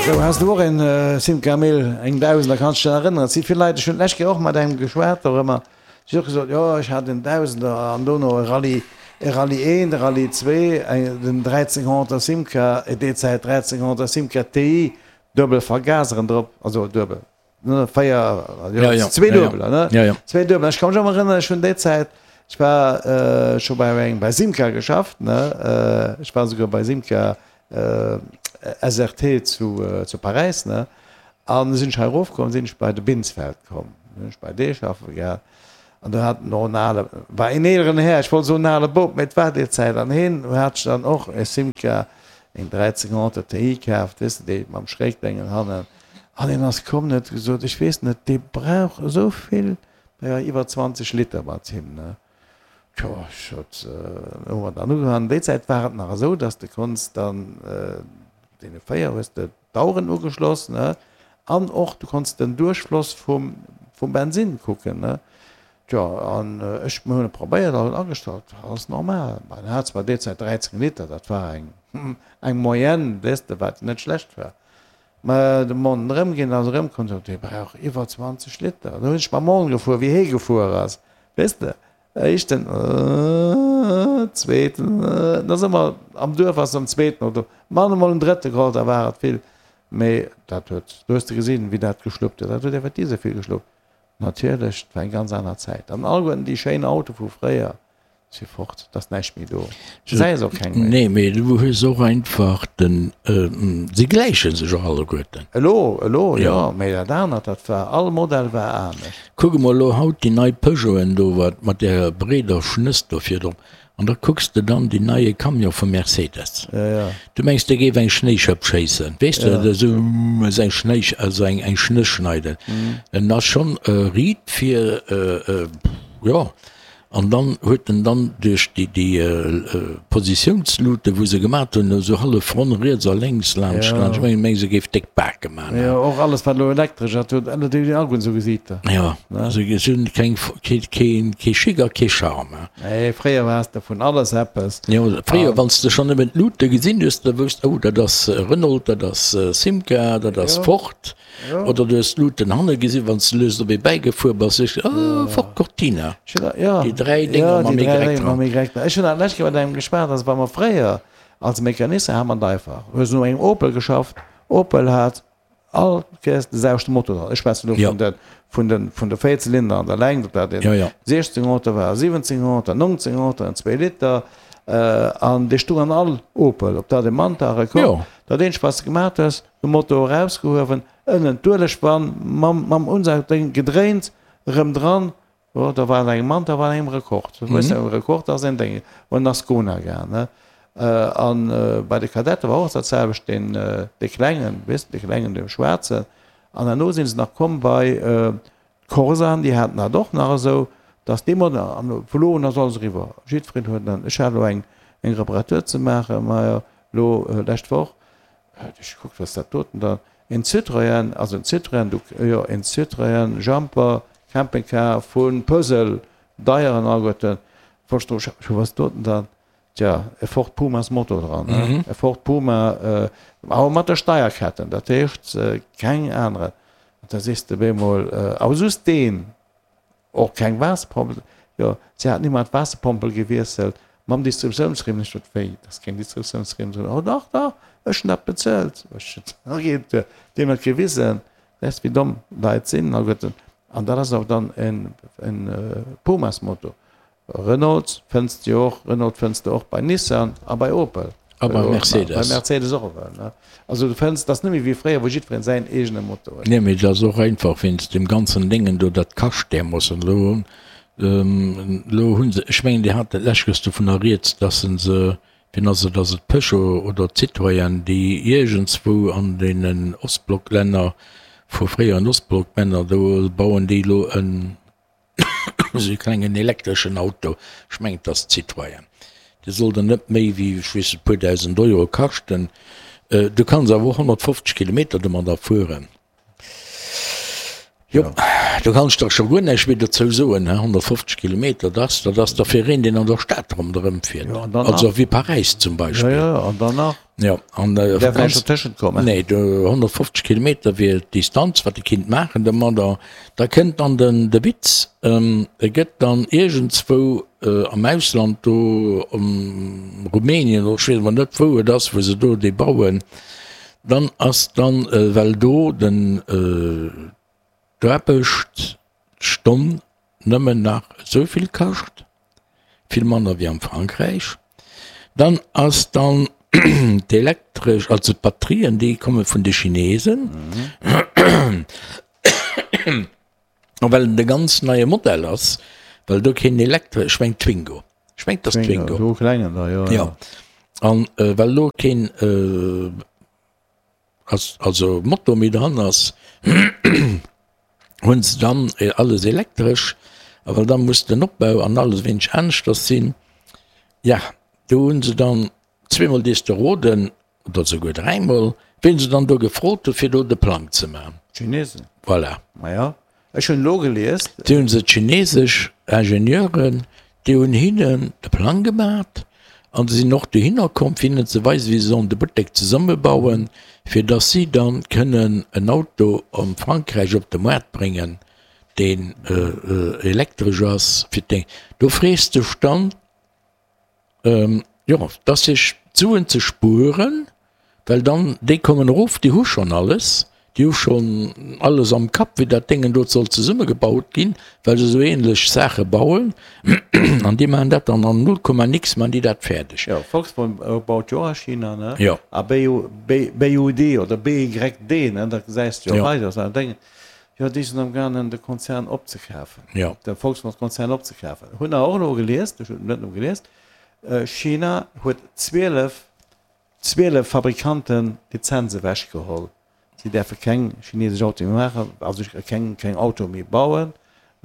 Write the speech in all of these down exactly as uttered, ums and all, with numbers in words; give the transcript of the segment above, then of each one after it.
Sou, has du och en Simca Mille, eng Dausender, kanns dech erënneren? Et si vill Leit, ech hunn d'lescht Kéier och mat engem geschwat dorëmmer, si huet och gesot, jo ech hat en Dausender an dono e Rallye, e Rallye eent, e Rallye zwee, eng, den dräizénghonnerter Simca, déi Zäit dräizénghonnerter Simca T I, duebel Vergaseren drop, also duebel, ne, véier, jo, Ja, ja, zwee ja, ja. duebeler, ne, Ja, ja. zwee duebeler. Ech ka mech och erënneren, ech hunn déi Zäit, ech war scho bei engem, bei Simca geschafft, ne, ech war souguer bei Simca S R T zu, zu Paräis, ne, an sinn ech hei erofkomm, sinn ech bei de Binsfeld komm, sinn ech bei dee schaffe gaang, an do hat en och en ale, war een eeleren Här, ech wollt soen en ale Bop, mee et war déi Zäit, an heen hat sech dann och e Simca, eng dräizénghonnert T I kaaft, weess de, déi mam Schrägdéngen hannen, an hien ass komm, huet gesot, ech weess net, dee brauch esou vill, naja, iwwer zwanzeg Liter mat him, ne. Tjo, ech sot, hu mer dann ugefaangen. Déi Zäit war et nach esou, dass de konns dann deene véier hues de d'Aueren ugeschloss, ne, an och du konns den Duerchfloss vum, vum Bensinn kucken, ne. Tjo, an ech, mir hunn et probéiert, alles agestallt, alles normal. Mä en hat zwar déi Zäit dräizéng Liter, dat war eng, eng Moyenne, weess de, wat net schlecht war. Mä de Morgen erëmginn, ass erëmkomm, sot, dee brauch iwwer zwanzeg Liter. Da hunn ech mam Morgen gefuer, wéi hee gefuer ass, weess de. Éischten, zweeten, da si mer am Duerf, ass am zweeten oder man emol en drëtte geholl, da war et vill. Mee dat huet, do hues de gesinn, wéi dat geschluppt huet. Dat huet effektiv esou vill geschluppt. Natierlech, et war eng ganz aner Zäit. An alleguerten déi schéin Autoe vu fréier si fort, et ass näischt méi do. Du gesäis och keng méi. Nee, mee du hues och einfach den, si gläiche sech och alleguerten. Elo, elo jo, mee dat anert, dat war, all Modell war anescht. Kuck emol elo haut déi nei Peugeoten do, wat mat där breeder Schnëss do virdrop, an da kucks de dann deen neie Camion vu Mercedes. Du mengs, dee géif eng Schnéischëpp schéissen, weess de, esou eng Schnéi, also eng Schnëss schneiden. En ass schonn riit fir, jo. An dann huet en dann duerch déi déi Positiounslute wou se gemat hunn, esou hallef ronn riets a lénks laanscht laanscht, ech mengen meng se géif déck Bake man. Jo, och alles wat elo elektresch ass, huet ënner déi alleguerten esou Gesiiter. Jo, se hunn keng kee kee kee Chic a kee Charme. Nee, fréier has de vun alles eppes. Jo, fréier wann s de schonn nëmmen d'Lute gesinn hues, da wousst, oh dat ass Renault, dat ass Simca, dat ass Ford. Oder du hues d'Luuten hanne gesinn, wann s de lues op ee bäigefuer bass, hues de gesot, Oh, Ford Cortina. Déi dräi Dénger mam Y dran. Ech hunn dat lescht Kéier mat engem geschwat, also wa mer fréier als Mecanicien hat mer et einfach, hues no engem Opel geschafft, Opel hat all Kéiers de selwechte Motor dran, ech schwätzen elo vun de, vun de, vun de Véierzylinder an der Längt, ob dat een siechzénghonnerter war, siwwenzénghonnerter, nongzénghonnerter, en zwee Liter, an dee stung an all Opel, ob dat e Manta, Rekord, dat eenzegt wat s de gemaat hues, de Motor erausgehuewen, ënnen d'Uelegwann mam mam Unsaugdéng gedréint, erëm dran, jo da war et engem Manta, war et engem Rekord. Du weess jo, Rekord ass een Déng, an Ascona gaang, ne. An bei de Kadette war och dat selwecht, deen dee klengen, weess de, dee klengen, dee schwaarzen. An herno si se nach komm bei d'Corsaen, déi haten dat och nach esou, dass dee Modell, an vu lo un ass alles eriwwer, jiddwereen huet en. Ech hat elo eng eng Reparatur ze maachen, majo elo lescht Woch, Ech gekuckt, wat ass dat doten dann? En Citroën, also en Citroën, du, jo, en Citroën Jumper Campingcar vu Puzzle, deieren alleguerten. Wollt ech dru schaffen, wat ass doten dann? Tja, e Ford Pumas Motor dran, ne? E Ford Puma, awer mat der Steierketten, dat heescht keng anere. An da sees de bemol, awer just deen. Och keng Waasserpompel, jo, si haten ëmmer d'Waasserpompel gewiesselt mam Distributiounsriem. Ech sot, wéi, et ass keng Distributiounsriem dran? Oh dach, dach, ech hunn dat bezuelt. Ech sot, okay, deem dat gewisen, weess wéi domm Leit sinn alleguerten. An dat ass awer dann en Pumas-Motor. Renault fënns de jo och, Renault fënns de och bei Nissan a bei Opel. A bei Mercedes. Bei Mercedes och ewell, ne? Also du fënns, et ass net méi wéi fréier, wou jiddwereen säin eegene Motor huet. Nee, mee et ass och einfach wéinst deem ganzen Déngen do, dat kascht därmoossen. Elo hunn, elo hu se, ech mengen, Dir hat dat lescht Kéiers dovunner rieds, dass se se, wien ass et, ass et Peugeot oder Citroën, déi iergendswou an deenen Ostblocklänner, vu fréieren Ostblocklänner, do bauen déi elo en, Esou e klengen elektreschen Auto, ech mengen et ass Citroën, dee soll dann net méi wéi, ech weess net, e puer dausend Euro kaschten. Du kanns awer och honnertfofzeg Kilometer domadder fueren. Jo, do kann ech der scho guer näischt méi dozou soen, he, honnertfofzeg Kilometer, dat dat ass da fir een, deen an der Stad ronderëm fiert, Ja, an dann nach. also wéi Paräis zum Ja, Beispill. ja, an dann nach. Ja, an Däerf näischt ganz, dertëschent kommen. nee, do honnertfofzeg Kilometer wier d'Distanz, wat e kinnt maachen domadder. Da kënnt dann den, de Witz, e gëtt dann iergendzwou am Ausland do, am Rumänien oder ech weess emol net, wou et ass, wou se do dee bauen, dann ass dann, well do den, D'Aarbecht d'Stonn nëmmen nach esou vill kascht, vill manner wéi am Frankräich. Dann ass dann d'elektresch, also d'Batterien, déi komme vun de Chinesen. A well et e ganz neie Modell ass, well do keen elektresch, ech meng Twingo, ech meng et ass Twingo, Twingo, do klengen da, jo, jo. jo. An well do keen Ass also Motor méi dran ass, hunn se dann alles elektresch, a well da muss den Opbau an alles e wéineg aneschters sinn, ja do hunn se dann zweemol dees de roden, oder souguer dräimol, wien se dann do gefrot hu fir do de Plang ze man. D'Chinesen. Voilà. Maja, ech hunn elo gelies. Do hunn se d'chinesesch Ingenieuren, déi hunn hinnen de Plang gemat an se sinn och dohinner komm, fir hinnen ze weisen, wéi se sollen de Buttek zesummebauen, fir dass si dann kënnen en Auto am Frankräich op de Moart bréngen, deen elektresch ass. Fir d'Déng. Do frees dech dann, Jo, et ass sech d'Suen ze spueren, well dann déi kommen erof, déi hu schonn alles, déi hu schonn alles am Kapp, wéi dat Déngen do soll zesummegebaut ginn, well se esou ähnlech Saache bauen an déi maachen dat dann an null Komma nix maachen déi dat fäerdeg. Jo, Volkswagen baut jo och a China, ne? Jo. A B U D oder B Y D, ne, dat gesäis de jo Jo. hei, dat ass Déngen, jo, déi sinn amgaangen de Konzern opzekafen, Jo. de Volkswagen-Konzern opzekafen. Hunn awer och elo gelies, ech hunn net nëmme gelies, China huet zwielef, zwielef Fabrikanten d'Lizenz ewechgeholl. Si däerfe keng chinesesch Autoe méi maachen, also keng, keng Autoe méi bauen,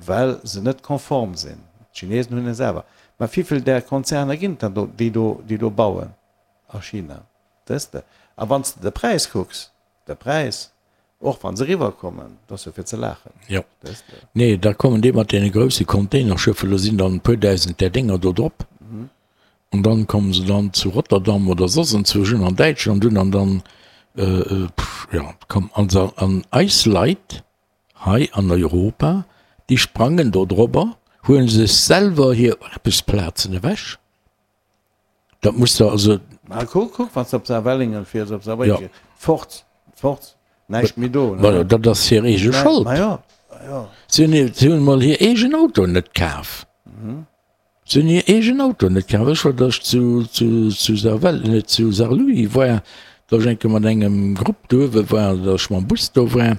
well se net konform sinn. D'Chinesen hunn e selwer. Mä wivill där Konzerner ginn et dann do, déi do, déi do bauen a China? Weess de? A wann s de de Präis kucks, de Präis, och wa se eriwwerkommen, dat ass jo fir ze laachen. Jo. Weess de? Nee, da kommen déi mat deene grousse Containerschëffer, do sinn dann e puer dausend där Dénger do drop. An dann kommen se dann zu Rotterdam oder soss enzwousch un an Däitschland un an dann, jo, komm, also an eis Leit hei an Europa, déi sprangen do drobber, huelen sech selwer hir Aarbechtsplazen ewech. Dat muss der also. Ma kuck, kuck, wann s de op Saarwellingen fiers, op Saarbrécken, fort, fort, näischt méi do, ne? Ma jo, dat ass hir eege Schold. Ma jo, ma jo. Si hunn, si hunn emol hir eegen Autoen net kaf. Si hunn hir eegen Autoen net kaf. Ech war, datt ech zu, zu, zu Sarwell, net zu Saarlouis war, datt ech eng Kéier mat engem Grupp do uewe war, datt ech mam Bus do war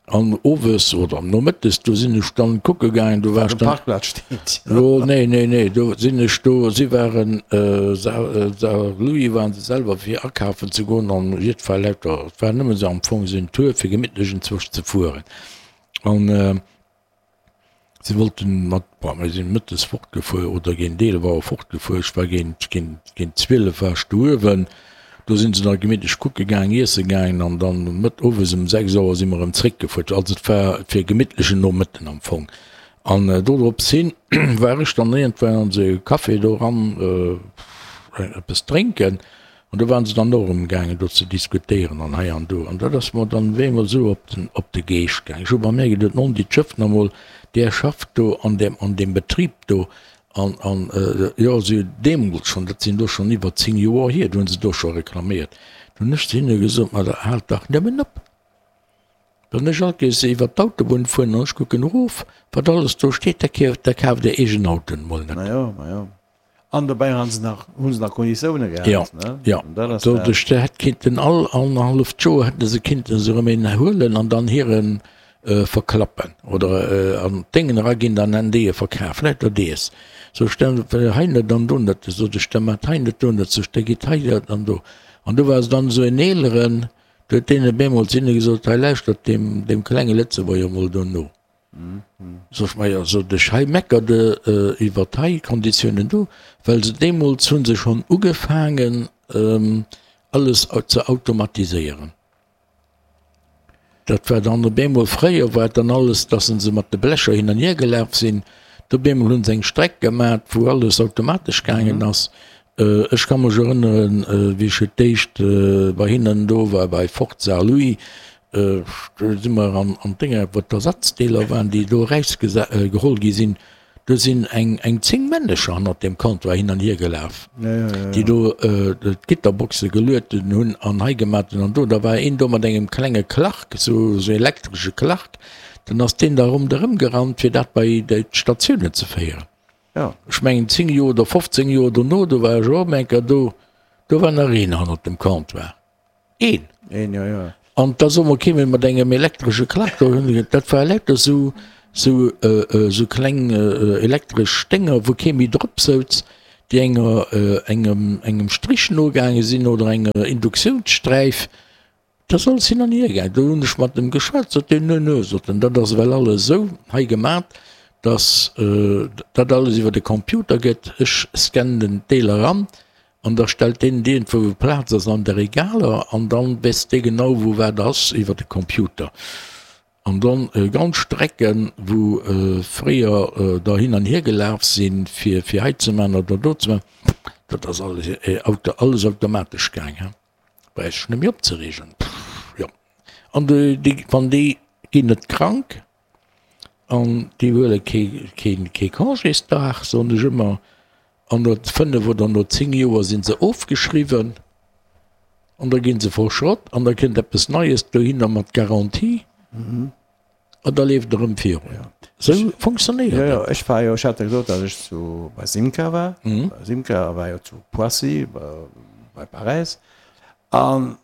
an owes oder nomëttes, do sinn ech dann kucke gaangen, do war Wat ech um dann, Parkplaz steet. jo, nee, nee, nee, do sinn ech do, si waren, Saar, Saarlouis waren se selwer fir akafen ze goen an jiddwer lauter, et war nëmmen esou am Fong esou en Tour fir gemittlech enzwousch ze fueren an, Si wollten mat, bon, mir sinn mëttes fortgefuer oder géint eelef Auer fortgefuer. Ech war géint, géint, géint zwielef war ech do uewen. Do sinn se da gemittlech kucke gaang, iesse gaangen an dann mëtt owes ëm sechs Auer si mer erëm zréckgefuer. Also et war fir e gemittlechen Nomëtten am Fong. An dodrops hin war ech dann iergendwann an esou e Café do eran eppes drénken. An do waren se dann och erëm gaangen do ze diskutéieren an hei an do. An dat ass mer dann op eemol esou op den, op de Geescht gaangen. Ech hu bei mär geduet, Non, déi schëfft nach emol, där schafft do an deem, an deem Betrib do. An, an, jo, si hunn deemools schonn, dat sinn elo schonn iwwer zéng Joer hier, do hu se do scho reklaméiert. Do hunn ech zu hinne gesot, Ma da haalt dach nëmmen op! Wann ech all Kees iwwer d'Autobunn fueren an ech kucken erof, wat alles do steet, da kaaft, da kaaft Är eegen Autoen emol net. Majo, majo. An dobäi han se nach, hu se nach Konditioune Jo, gehat, ne? jo. An dat ass dat. Doduerch, se hätt kinnten all annerhalleft Joer hätte se kinnten se erëm een huelen an dann hiren verklappen oder an d'Déngen eraginn, dann hätten déi e verkaf. Lauter dees. Sou stell, hei net an do net, sot ech, da maacht hei net, do net, sot ech, da gitt hei dat an do. An do war se dann esou en eeleren, do huet deen op eemol zu hinne gesot, hei lauschtert deem, deem klenge Lëtzebuerger mol do no. Sot ech, majo, sot ech, hei meckert e iwwert hei Konditiounen do, well se deemools hu se schonn ugefaangen alles ze automatiséieren. Dat war dann op eemol, fréier war et dann alles, dass se mat de Blecher hin an hier gelaf sinn. Do op eemol hu se eng Streck gemat, wou alles automatesch gaangen ass. Ech ka mech erënneren, wéi ech fir d'éischt bei hinnen do war, bei Ford Saarlouis, do si mer an an d'Dénger, wou d'Ersatzdeeler waren, déi do erausgeholl gi sinn, do sinn eng eng zéng Männecher hannert deem Comptoir hin an hier gelaf, déi do d'Gitterboxe gelueden hunn an hei gemat hunn an do. Da war een do mat engem klenge Clark, esou esou elektresche Clark, dann ass deen da ronderëm gerannt, fir dat bei d'Statiounen ze féieren. Ech mengen zéng Joer oder fofzéng Joer dono, do war ech och eng Kéier do, do war nach een hannert dem Comptoir. Een! Een, jo, jo. An da soe mer, kéim ee mat engem elektresche Klack do hin, dat war lauter sou, sou, sou kleng elektresch Dénger, wou kee méi drop souz, déi enger, engem, engem Strich nogaange sinn oder enger Induktiounssträif. Dat ass alles hin an hier gaangen. Do hunn ech mat em geschwat, sot deen, Nö, nö, sot en, dat ass ewell alles esou hei gemat, dass dat alles iwwer de Computer gëtt. Ech scannen d'Deeler eran an da stellt deen et iergendwou wou Plaz ass an de Regaler an dann weess dee genau wou wat ass iwwer de Computer. An dann ganz Strecken, wou fréier der hin an hier gelaf sinn, fir fir hei ze man oder do ze man, dat ass alles alles automatesch gaang. Brauch sech net méi opzereegen. Jo. An déi, wann déi ginn net krank an déi huele kee, kee, kee Congésdag, soen ech ëmmer, an no fënnef oder no zéng Joer si se ofgeschriwwen an da gi se verschrott an da kënnt eppes Neies dohinner mat Garantie an da leeft et erëm virun. Esou funktionéiert Jo, jo, dat. ech war jo, ech hat der gesot, datt ech zu, bei Simca war. Bei Simca war jo zu Poissy, bei Paräis. An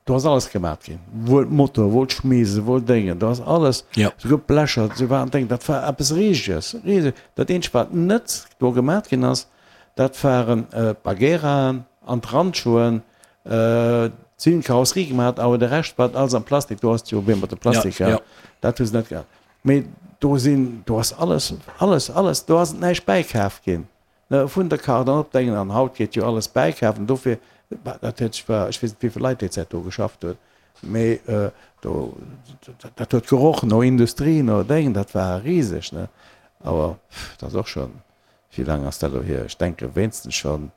do ass alles gemat ginn, wuel Motor, wuel d'Schmiese, wuel Déngen, do ass alles, souguer d'Blecher, se waren Déngen, dat war eppes Riseges, riseg. Dat eenzegt, wat net do gemat ginn ass, dat waren d'Bagueraen an d'Randschoen, si hunn d'Karosserie gemat, awer de Rescht war alles am Plastik, do ass jo wéi mat de Plastik, dat hu se net gehat. Mee do sinn, do ass alles, alles, alles, do ass näischt bäikaf ginn. Vun der Kart an op d'Engen an haut geet jo alles bäikafen, dofir, dat huet sech, ech weess net wéivill Leit déi Zäit do geschafft hunn, mee do, dat huet geroch no Industrie, no Déngen, dat war riseg, ne. Awer dat ass och schonn, wéi laang ass dat elo hier? Ech denke wéinstens schonn,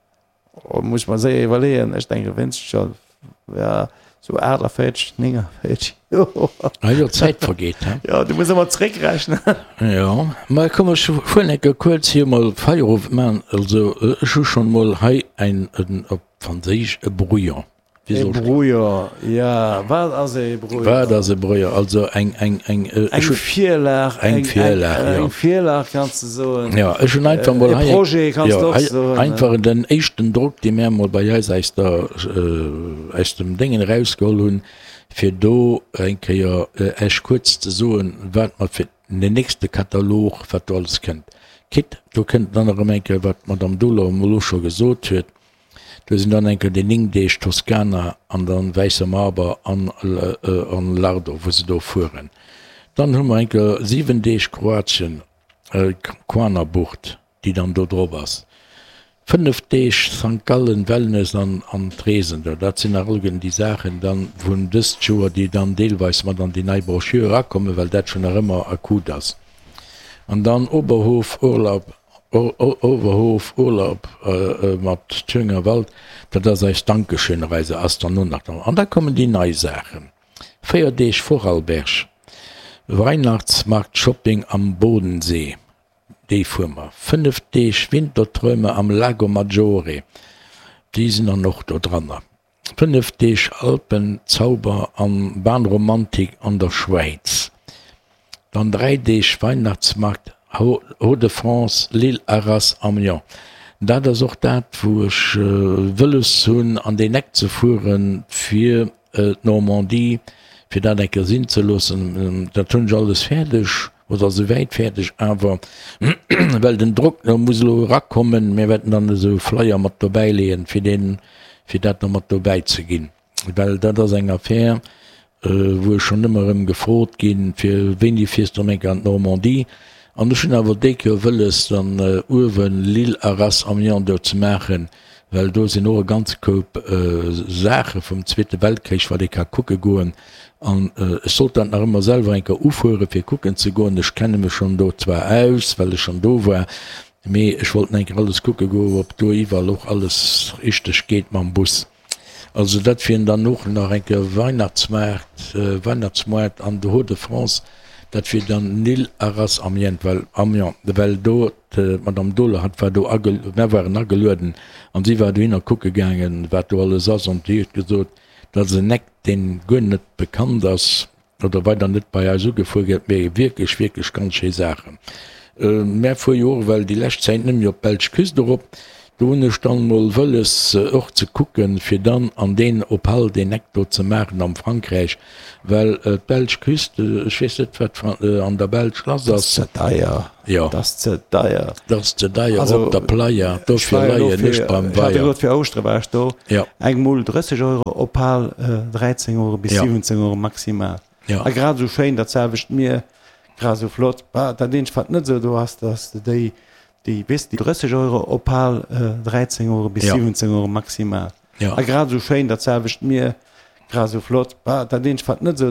muss ech mer séier iwwerleeën, ech denke wéinstens schonn Ja, sou aachtavéierzeg, néngavéierzeg Joer. Ah jo, d'Zäit vergeet, he? Jo, du muss ëmmer zréckrechnen. Jo, ma komm, ech fueren eng Kéier kuerz hier mol Feierowend maachen. Also, ech hu schonn mol hei ein, en, op Franséisch, e Brouillon. E Brouillon, ja. Wat ass e Brouillon? Wat ass e Brouillon? Also eng, eng, eng, ech hu. Eng Virlag, eng Virlag, jo. Eng Virlag kanns de soen. Jo, ech hunn einfach mol hei. E Projet kanns de och soen. Einfach den éischten Drock, dee mär mol bei eis aus der, aus dem Déngen erausgeholl hunn, fir do eng Kéier Iech kuerz ze soen, wat mer fir den nächste Katalog, wat do alles kënnt. Quitte, do kënnt dann erëm eng Kéier, wat d'Madame Dohler elo scho gesot huet, Do sinn dann eng Kéier déi néng Deeg Toskana an dann Wäisser Marber an an Lardo, wou se do fueren. Dann hu mer eng Kéier siwen Deeg Kroatien, Kvarnerbucht, déi dann do drop ass. Fënnef Deeg Sankt Gallen, Wellness an an d'Reesen do. Dat sinn nach alleguerten déi Saachen dann vun dëst Joer, déi dann deelweis mat an déi nei Broschür erakommen, well dat schon nach ëmmer akut ass. An dann Oberhof, Urlaub Oberhof, Urlaub mat Thüringer Wald, dat ass eis Dankeschön-Reise, ass dann och nach dran. An da kommen déi nei Saachen, véier Deeg Vorarlberg, Weihnachtsmarkt-Shopping am Bodensee, déi fuere mer, fënnef Deeg Winterträume am Lago Maggiore, déi sinn dann och do dranner. Fënnef Deeg Alpenzauber an Bahnromantik an der Schwäiz, dann dräi Deeg Weihnachtsmarkt Hauts-de-France, Lille, Arras, Amiens. Dat ass och dat wou ech wëlles hunn an deen Eck ze fueren fir d'Normandie, fir dat eng Kéier sinn ze loossen. Dat hunn ech alles fäerdeg oder souwäit fäerdeg, awer well den Drock muss elo erakommen, mir wäerten dann esou Flyer mat dobäi leeën fir deen fir dat nach mat dobäi ze ginn, well dat ass eng Affär, wou ech schonn ëmmer erëm gefrot ginn, fir wéini fiers du eng Kéier an d'Normandie? An ech hunn awer déi Kéier wëlles, dann uewen Lille, Arras, Amiens do ze maachen, well do sinn och e ganze Koup Saache vum Zweete Weltkrich, wat ee ka kucke goen. An ech sollt dat nach ëmmer selwer eng Kéier ufuere fir kucken ze goen. Ech kenne mech schonn do zwar aus, well ech schonn do war, mee ech wollt eng Kéier alles kucke goen, ob do iwwerall och alles richteg geet mam Bus. Also dat wieren dann och nach eng Kéier Weihnachtsmaart, Weihnachtsmoart an de Hauts-de-France, dat wier dann Nil, Arras, Amiens, well Amiens, well do d'Madame Dohler, hatt war do age, mär waren agelueden an si war dohinner kucke gaangen, wat do alles ass an déi huet gesot, dat ass en Eck, deen guer net bekannt ass oder weider net bei eis ugefuer gëtt, mee wierklech, wierklech ganz schéi Saachen. Mär fuer jo och ewell déi lescht Zäit net méi op d'belsch Küst erop. Do hunn ech dann mol wëlles och ze kucken, fir dann an deen Opal deen Eck do ze maachen am Frankräich, well d'belsch Küst, ech weess net wat an der Belsch lass ass. Ass ze deier. Jo. Ass ze deier. Ass ze deier op der Playa, dofir leien ech beim Weier. Ech hat elo fir Ouschtere war ech do, eng Mull drësseg Euro, Opal dräizéng Euro bis siwwenzéng Euro maximal. A grad esou schéin dat selwecht Mier. Grad esou flott. Bah, dat eenzegt wat net esou do ass, dass de déi, déi, weess de, drësseg Euro Opal, dräizéng Euro bis siwwenzéng Euro maximal. A grad esou schéin, dat selwecht Mier, grad esou flott. Bah, dat eenzegt wat net esou.